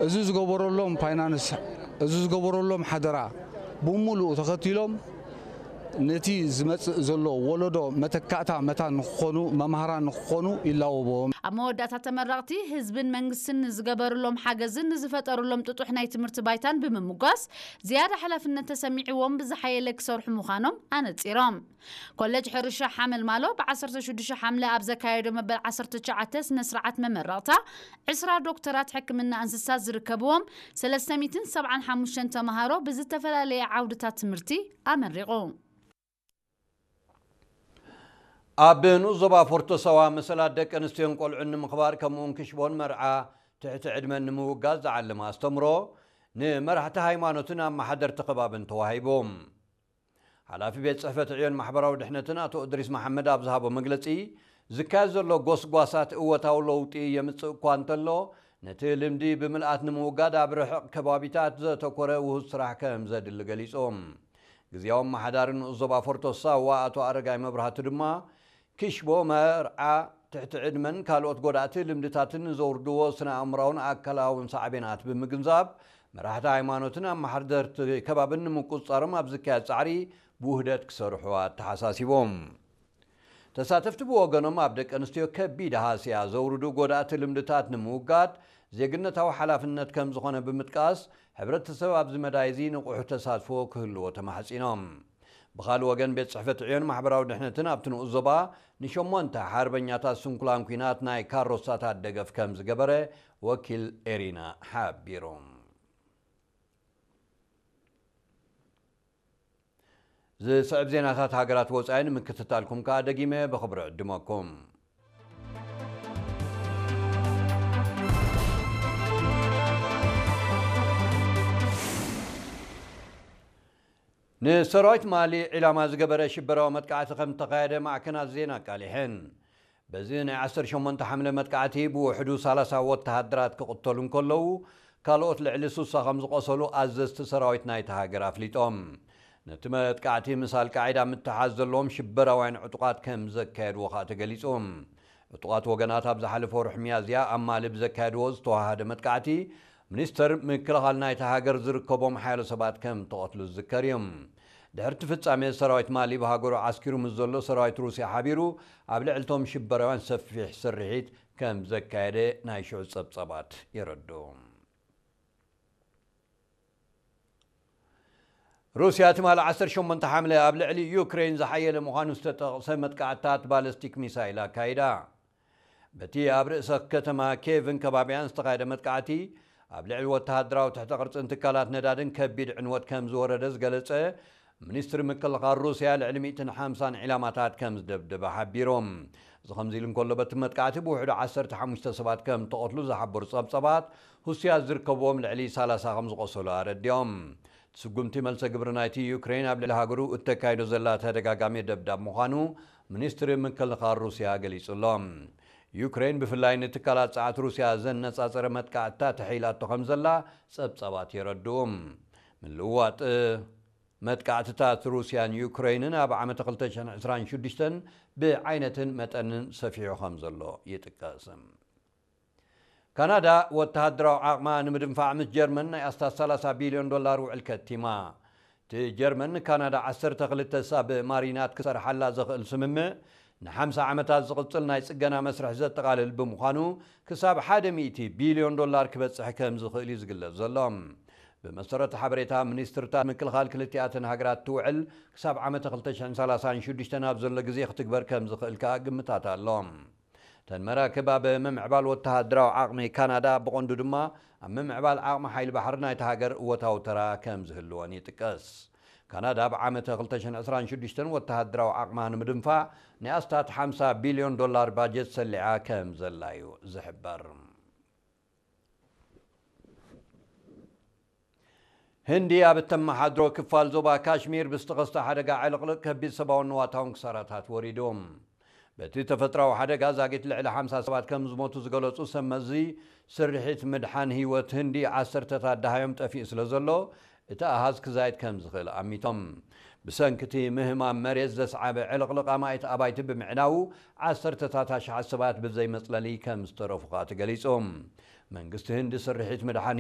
እዚ ዝገበረሎም ፋይናንስ፣ እዚ ዝገበረሎም ሓደራ ብምሉኡ ተኸቲሎም ነቲ ዝመጽእ ዘሎ ወለዶ መተካእታ መታን ንክኾኑ፣ መምሃራን ንክኾኑ ይላወቦም። ኣብ መወዳእታ ተመረቕቲ ህዝብን መንግስትን ንዝገበርሎም ሓገዝን ንዝፈጠርሎም ጥጡሕ ናይ ትምህርቲ ባይታን ብምምጓስ ዝያዳ ሓላፍነት ተሰሚዕዎም ብዝሓየለ ክሰርሑ ምዃኖም ኣነጺሮም። ኮለጅ ሕርሻ ሓመልማሎ ብ16 ሓምለ ኣብ ዘካየዶ መበል 19 ስነ ስርዓት መመረቕታ 20 ዶክተራት ሕክምና እንስሳት ዝርከብዎም 375 ተምሃሮ ብዝተፈላለየ ዓውድታት ትምህርቲ ኣመሪቑ። ኣብ ንኡስ ዞባ ፎርቶ ሳዋ መሰላት ደቂ ኣንስትዮን ቆልዑን ንምኽባር ከምኡውን ክሽቦን መርዓ ትሕቲ ዕድመን ንምውጋዝ ዝዓለመ ኣስተምሮ ንመራሕቲ ሃይማኖትን ኣመሓደርቲ ከባብን ተዋሂቡ። ሓላፊ ቤት ጽሕፈት ዕዮን ማሕበራዊ ድሕነትን ኣቶ እድሪስ መሓመድ ኣብ ዝሃቦ መግለጺ፣ ዝካየድ ዘሎ ጎስጓሳት እወታዊ ለውጢ የምጽእ እኳ እንተሎ፣ ነቲ ልምዲ ብምልኣት ንምውጋድ ኣብ ርሕቕ ከባቢታት ዘተኮረ ውሁድ ስራሕ ከም ዘድሊ ገሊጹ። ግዝያዊ ኣመሓዳሪ ንኡስ ዞባ ፎርቶ ሳዋ ኣቶ ኣረጋይ መብራህቱ ድማ፣ ክሽቦ መርዓ ትሕቲ ዕድመን ካልኦት ጎዳእቲ ልምድታትን ንዘውርድዎ ስነ ኣእምራውን ኣካላውን ሳዕቤናት ብምግንዛብ፣ መራሕቲ ሃይማኖትን ኣመሓደርቲ ከባብን ንምቁጽጻሮም ኣብ ዝካየድ ጻዕሪ ብውህደት ክሰርሑ ኣተሓሳሲቦም። ተሳተፍቲ ብወገኖም፣ ኣብ ደቂ ኣንስትዮ ከቢድ ሃስያ ዘውርዱ ጎዳእቲ ልምድታት ንምውጋድ ዜግነታዊ ሓላፍነት ከም ዝኾነ ብምጥቃስ፣ ሕብረተሰብ ኣብዚ መዳይ እዚ ንቑሕ ተሳትፎ ክህልዎ ተማሕጺኖም። ብኻልእ ወገን፣ ቤት ጽሕፈት ዕዮን ማሕበራዊ ድሕነትን ኣብቲ ንኡስ ዞባ ንሸሞንተ ሓርበኛታት ስንኩላን ኲናት ናይ ካሮሳታት ደገፍ ከም ዝገበረ ወኪል ኤሪና ሓቢሩ። ዝስዕብ ዜናታት ሃገራት ወጻኢ ንምክትታልኩም ከኣ ደጊመ ብኽብሪ ዕድመኩም። ንሰራዊት ማሊ ዒላማ ዝገበረ ሽበራዊ መጥቃዕቲ ከም ዝተኻየደ ማዕከናት ዜና ኣቃሊሐን። በዚ ናይ 18 ሓምለ መጥቃዕቲ ብውሕዱ 30 ወተሃደራት ክቕተሉ እንከለዉ፣ ካልኦት ልዕሊ 60 ከም ዝቖሰሉ ኣዘዝቲ ሰራዊት ናይቲ ሃገር ኣፍሊጦም። ነቲ መጥቃዕቲ ምስ ኣልቃዒዳ ምትሓዝ ዘለዎም ሽበራውያን ዕጡቓት ከም ዘካየድዎ ከኣ ተገሊጹ። ዕጡቓት ወገናት ኣብ ዝሓለፈ ወርሒ ሚያዝያ ኣብ ማሊ ብዘካየድዎ ዝተዋሃደ መጥቃዕቲ፣ ሚኒስተር ምክልኻል ናይቲ ሃገር ዝርከቦም ሓያሎ ሰባት ከም ተቐትሉ ዝዝከር እዩ። ድሕርቲ ፍጻሜ፣ ሰራዊት ማሊ ብሃገሩ ዓስኪሩ ምስ ዘሎ ሰራዊት ሩስያ ሓቢሩ ኣብ ልዕልቶም ሽበራውያን ሰፊሕ ስርሒት ከም ዘካየደ ናይ ሽዑ ጸብጻባት የረድኡ። ሩስያ ትማሊ 18 ሓምለ ኣብ ልዕሊ ዩክሬን ዝሓየለ ምዃኑ ዝተጠቕሰ መጥቃዕትታት ባለስቲክ ሚሳይል ኣካይዳ። በቲ ኣብ ርእሰ ከተማ ኬቭን ከባቢያን ዝተኻየደ መጥቃዕቲ፣ ኣብ ልዕሊ ወተሃደራዊ ትሕተ ቅርጽን ትካላት ነዳድን ከቢድ ዕንወት ከም ዝወረደ ዝገለጸ ሚኒስትሪ ምክልኻል ሩስያ፣ ልዕሊ 150 ዒላማታት ከም ዝደብደበ ሓቢሮም። እዚ ከምዚ ኢሉ እንከሎ፣ በቲ መጥቃዕቲ ብውሕዱ 15 ሰባት ከም ተቐትሉ ዝሓበሩ ጸብጸባት፣ ሩስያ ዝርከብዎም ልዕሊ 30 ከም ዝቖሰሉ ኣረዲኦም። ስጉምቲ መልሰ ግብሪ ናይቲ ዩክሬን ኣብ ልዕሊ ሃገሩ እተካይዶ ዘላ ተደጋጋሚ ደብዳብ ምዃኑ ሚኒስትሪ ምክልኻል ሩስያ ገሊጹ ኣሎ። ዩክሬን ብፍላይ ንትካላት ጸዓት ሩስያ ዘነጻጸረ መጥቃዕትታት ተሒላቶ ከም ዘላ ጸብጻባት የረድኡ። ምልውዋጥ መጥቃዕትታት ሩስያን ዩክሬንን ኣብ ዓመተ 2026 ብዓይነትን መጠንን ሰፊሑ ከም ዘሎ ይጥቀስ። ካናዳ ወተሃደራዊ ዓቕማ ንምድንፋዕ ምስ ጀርመን ናይ ኣስታት 30 ቢልዮን ዶላር ውዕል ከቲማ። እቲ ጀርመን ንካናዳ 12 ሳብ ማሪናት ክሰርሓላ ዘኽእል ስምምዕ፣ ን50 ዓመታት ዝቕጽል ናይ ጽገና መስርሕ ዘጠቓልል ብምዃኑ፣ ክሳብ ሓደ ሚእቲ ቢልዮን ዶላር ክበጽሕ ከም ዝኽእል እዩ ዝግለጽ ዘሎ። ብመሰረት ሓበሬታ ሚኒስትርታት ምክልኻል ክልቲኣተን ሃገራት፣ እቲ ውዕል ክሳብ ዓመተ 2036 ኣብ ዘሎ ግዜ ክትግበር ከም ዝኽእል ከኣ ግምታት ኣሎ። እተን መራክብ ኣብ ምምዕባል ወተሃደራዊ ዓቕሚ ካናዳ፣ ብቐንዱ ድማ ኣብ ምምዕባል ዓቕሚ ሓይሊ ባሕሪ ናይቲ ሃገር እወታዊ ተራ ከም ዝህልወን ይጥቀስ። ካናዳ ኣብ ዓመተ 2026 ወተሃደራዊ ዓቕማ ንምድንፋዕ ናይ ኣስታት 50 ቢልዮን ዶላር ባጀት ሰሊዓ ከም ዘላ እዩ ዝሕበር። ህንዲ ኣብ እተመሓድሮ ክፋል ዞባ ካሽሚር ብዝተኸስተ ሓደጋ ዕልቕልቕ ከቢድ ሰብኣውን ንዋታውን ክሳራታት ወሪዱ። በቲ ተፈጥራዊ ሓደጋ ዛጊት ልዕሊ 50 ሰባት ከም ዝሞቱ ዝገለጹ ሰብ መዚ፣ ስርሒት ምድሓን ህይወት ህንዲ ዓሰርተታት ደሃዮም ጠፊኡ ስለ ዘሎ፣ እቲ ኣሃዝ ክዛይድ ከም ዝኽእል ኣሚቶም። ብሰንኪ እቲ ምህማም መሬት ዘስዓበ ዕልቕልቕ ኣማኢት ኣባይቲ ብምዕናዉ፣ ዓሰርተታት ኣሽሓት ሰባት ብዘይ መጽለሊ ከም ዝተረፉ ከኣ ተገሊጹ። መንግስቲ ህንዲ ስርሒት ምድሓን